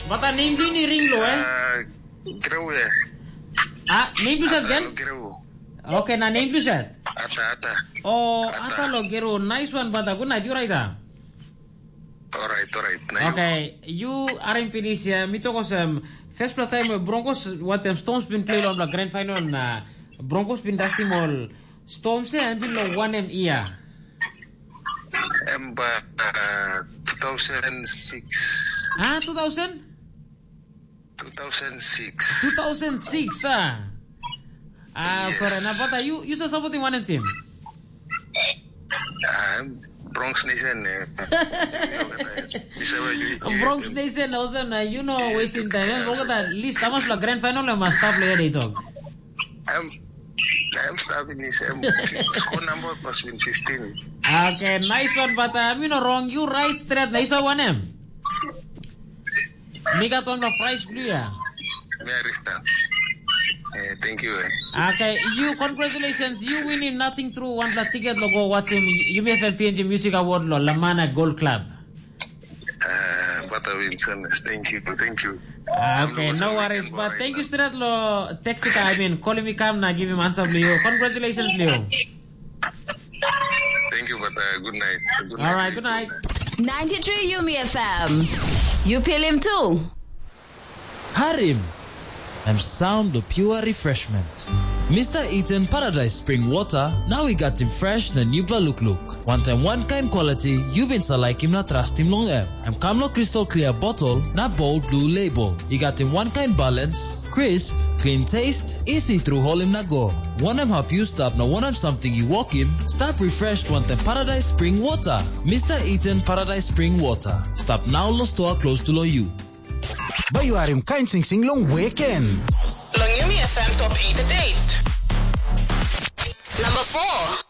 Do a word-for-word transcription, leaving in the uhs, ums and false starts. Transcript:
Bata, nem blo yu ring lo, eh? Ah, Greu ya. Ah, nem blo sat gen? Greu. Okay, na nem blo sat? Ata, ata. Oh, ata lo Greu. Nice one, bata. Good night, yu right, ah? Alright, alright. Na yu? Okay, yu harim pinis ya, mi tok olsem, first pela taim Broncos watem Storms bin play long grand final na Broncos bin dastim ol Storms ya, em bin lo wanem ia? Em ba uh, two thousand six. Ah, two thousand? two thousand six. two thousand six, ah. Ah, yes. Sorry, na bata, yu yu sa supporting wanem team? Ah, Bronx Nation. Eh. Bronx Nation, also na you know wasting time. Eh, look at that list. How much la grand final em mas stop le dei dog? I'm I'm stopping this. I'm score number must be fifteen. Okay, nice one, but uh, I'm you know wrong. You right straight. Nice one, em. Mi gat wanpela prize blo yu ya. Mi arista. Eh, thank you. Eh. Okay, you congratulations. You winning nothing through wanpela ticket lo go watching you may have P N G Music Award lo Lamana Gold Club. Uh, but I win, son. Thank you. Thank you. Ah, okay, no worries. But thank you straight lo text ka, I mean, calling me come na give him answer blo yu. Congratulations, Leo. Thank you, but uh, good night. Good night. All right, good night. ninety-three Yumi F M. You feel him too? Harim! Em sound lo pure refreshment. Mister Eden Paradise Spring Water, now we got him fresh na newpela look look. One time one kind quality, you been sa like him na trust him long em. Em kam lo crystal clear bottle na bold blue label. I gat him one kind balance, crisp, clean taste, easy through hole him na go. Wanem hap yu stap na wanem samting yu wokim, stap refreshed wantaim Paradise Spring Water. Mister Eden Paradise Spring Water. Stap nau lo stoa close to lo yu. Bai yu harim kain singsing long weekend. Long Yumi F M Top eight Update. Number four.